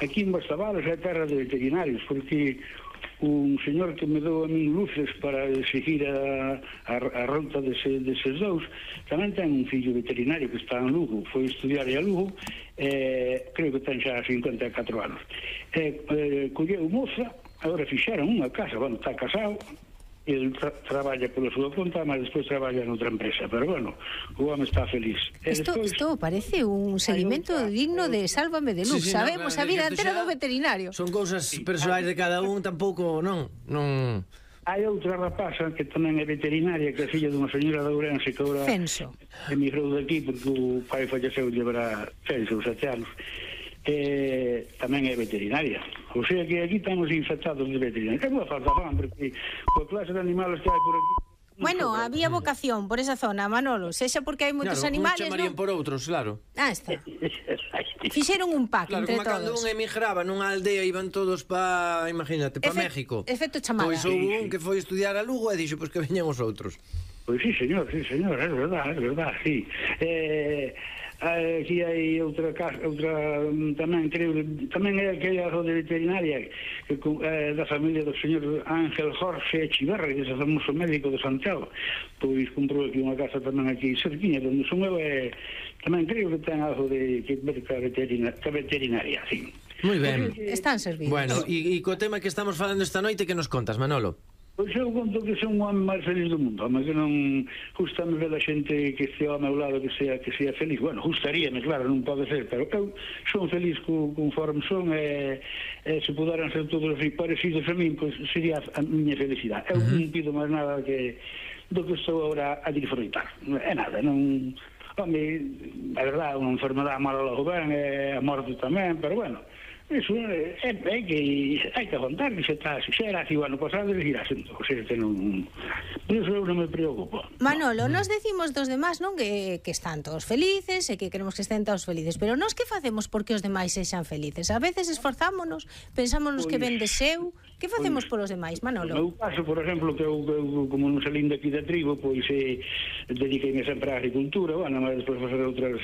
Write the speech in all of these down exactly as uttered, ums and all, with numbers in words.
aquí en Bastavalos é terra de veterinarios, porque un señor que me dou a min luces para seguir a, a, a ruta dese, deses dous tamén ten un fillo veterinario que está en Lugo, foi estudiar a Lugo, eh, creo que ten xa cincuenta e catro anos, eh, eh, colleu moza, agora fixeron unha casa, bueno, está casado, ele tra traballa pola súa conta, mas despois traballa noutra empresa, pero bueno, o home está feliz. Isto, despois, isto parece un seguimento outra, digno de Sálvame de Luz, sí, sí, sabemos no, a vida entera do veterinario. Son cousas sí, persoais de cada un, tampouco, non, non... Hai outra rapaza que tamén é veterinaria, que é filla dunha señora de Ourense que agora Censo. emigrou daqui porque o pai falleceu llevará seis ou sete anos. Eh, tamén é veterinaria, o sea que aquí estamos infectados de veterinaria. É boa falta fan, porque coa clase de animales que hai por aquí. Bueno, había vocación por esa zona, Manolo, sexa porque hai moitos claro, animales, chamarían non? por outros, claro. Ah, está. Fixeron un pack claro, entre todos. Claro, como cando un emigraba nunha aldea iban todos pa, imagínate, pa Efe México. Efecto chamada. Pois houve un que foi estudiar a Lugo e dixo, pois que veñan os outros. Pois sí, señor, sí, señor, é verdad, é verdad, sí. Eh... aquí hai outra casa, outra tamén creo, tamén é aquella de veterinaria que é da familia do señor Ángel Jorge Echiverra, que é o famoso médico de Santiago, pois comprou aquí unha casa tamén aquí cerquiña, onde son eu, e tamén creo que ten algo de que ver ca veterinaria, ca veterinaria, sí. Moi ben. Están servidos. Bueno, e co tema que estamos falando esta noite, que nos contas, Manolo? Pois eu conto que son o home máis feliz do mundo, home, que non gustame ver a xente que estea ao meu lado que sea que sea feliz. Bueno, gustaríame, claro, non pode ser, pero eu son feliz co, conforme son, e, e se puderan ser todos así parecidos a min, pois sería a miña felicidade. Eu uh-huh. non pido máis nada que do que estou agora a disfrutar. É nada, non... Home, é verdade, unha enfermedade mala logo ben, e a morte tamén, pero bueno... Eso é, é, é que hai que aguantar, que se está, se xa era así o ano pasado, e irá sendo, o sea, que non, por eso eu non me preocupo. Manolo, no. nos decimos dos demás, non, que, que están todos felices, e que queremos que estén todos felices, pero nós que facemos porque os demais sexan felices? A veces esforzámonos, pensámonos pues, que ven de seu, que facemos pues, polos demais, Manolo? No meu caso, por exemplo, que eu, eu como non salín daqui da tribo, pois eh, dediquei-me sempre á agricultura, bueno, mas despois facer outras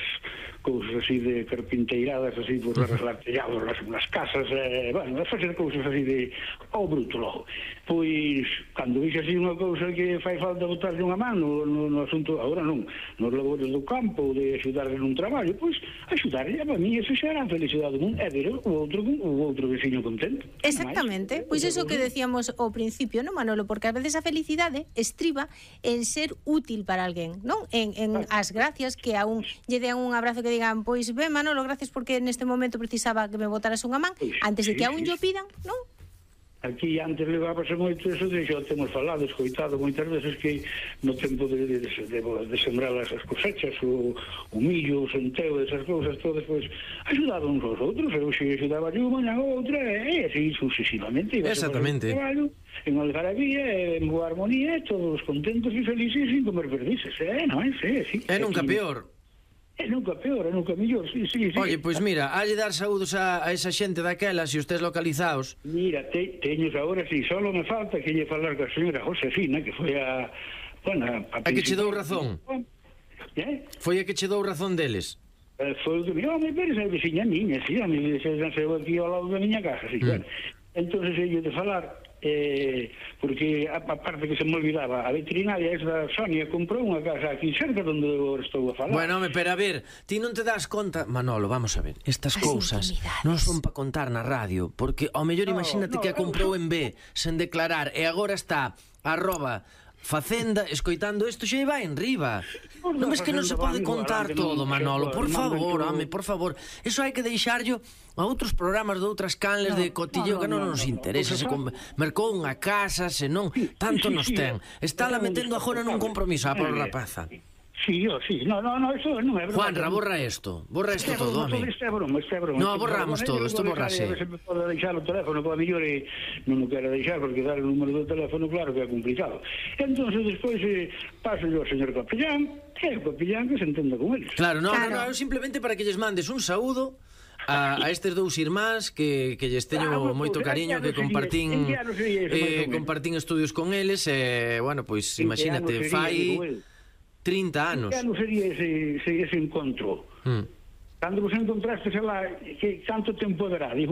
cousas así de carpinteiradas, así, por arreglar tellados, nas casas, eh, bueno, facer cousas así de ao bruto logo. Pois, cando vise así unha cousa que fai falta botarlle unha man no, no, no asunto, agora non, nos labores do campo, de axudarle nun traballo, pois, axudarle, a mí, eso xa era a felicidade do mundo, é ver o outro, o outro veciño contento. Exactamente, pois iso que decíamos ao principio, non, Manolo? Porque a veces a felicidade estriba en ser útil para alguén, non? En, en as gracias que a un lle dean un abrazo, que digan, pois, ben, Manolo, gracias porque neste momento precisaba que me botaras unha man, antes de que a un lle pidan, non? Aquí antes levábase moito eso, de xa temos falado, escoitado moitas veces que no tempo de, de, de, de sembrar as cosechas, o, o millo, o centeo, esas cousas todas, pois, axudaban uns aos outros, eu xe axudaba yo, mañan outra, e así sucesivamente. Exactamente. En algarabía, en boa armonía, todos contentos e felices sin comer perdices, eh, non é? Sí, sí. É nunca peor. É nunca peor, é nunca mellor, sí, sí, sí. Oye, pois mira, halle dar saúdos a, a esa xente daquela, se estés localizados. Mira, te, teños agora, sí, solo me falta que lle falar ca señora Josefina, que foi a... Bueno, a, a que che dou razón. Eh? Foi a que che dou razón deles. Eh, foi o que me... Oh, me veres a veciña miña, sí, a mi se nasceu aquí ao lado da miña casa, sí, mm. Bueno. Entón, lle de falar... Eh, porque a, a parte que se me olvidaba, a veterinaria esa Sonia comprou unha casa aquí cerca onde eu estou a falar. Bueno, home, pero a ver, ti non te das conta, Manolo, vamos a ver, estas cousas non son para contar na radio, porque ao mellor no, imagínate no, que a comprou en B sen declarar e agora está arroba Facenda escoitando isto, xa vai en riba. Non ves que non se pode contar todo, Manolo, por favor, home, por favor. Eso hai que deixarlo a outros programas de outras canles de cotilleo que non nos interesa. Se mercou unha casa, se non, tanto nos ten. Está la metendo agora nun compromiso a pobre rapaza. Sí, yo, sí, no, no, no, eso non é verdade. Juanra, borra isto, borra isto todo, home. Este é broma, este é broma. No, borramos todo, isto borrase. Se me pode deixar o teléfono, para mellor non o quero deixar, porque dar o número do teléfono, claro que é complicado. Entón, despois paso yo ao señor capellán, e o capellán que se entenda con eles. Claro, no, no, no, simplemente para que lles mandes un saúdo a, a estes dous irmáns que, que lles teño ah, moito cariño, que compartín eh, compartín estudios con eles, e, eh, bueno, pois, imagínate, fai trinta anos. Que ano sería ese, ese, ese encontro? Mm. Cando vos encontraste lá, que tanto tempo dará? Digo,